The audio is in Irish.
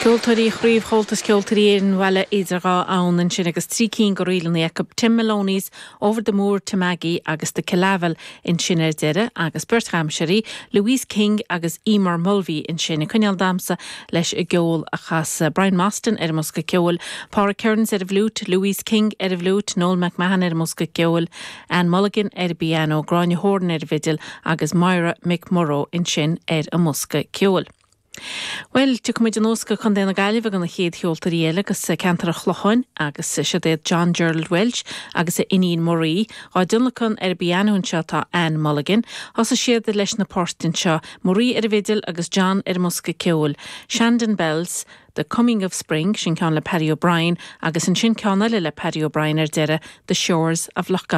Ceoltóirí Chraobh Chomhaltas Ceoltóirí Éireann Bhaile Idir Dhá Abhann ansin agus 3 cinn de ríleanna acu, Tim Maloney's, Over the Moor to Maggie agus The Killavil ansin ar deireadh agus beirt dhamhsóirí, Louise King agus Emer Mulvey ansin ag coinneáil damhsa leis an gceol a chas Brian Mostyn ar an mbosca ceoil, Pádraig Kearns ar an bhfliúit, Louise King ar an bhfliúit, Noel McMahon ar an mbosca ceoil, Anne Mulligan ar an bpianó, Gráinne Horan ar an bhfidil agus Moira McMurrough ansin ar an mbosca ceoil. Bhuel, tiocfaidh muid anuas go Contae na Gaillimhe do na chéad cheoltóirí eile agus ceantar an Chlocháin agus siod iad John Gerald Walsh agus a iníon Marie. Á dtionlacan ar an bpianó anseo tá Anne Mulligan. Thosaigh siad leis na poirt anseo, Marie ar an bhfidil agus John ar an mbosca ceoil, Shandon Bells, The Coming of Spring, sin ceann le Paddy O'Brien agus ansin ceann eile le Paddy O'Brien ar deireadh, The Shores of Lough.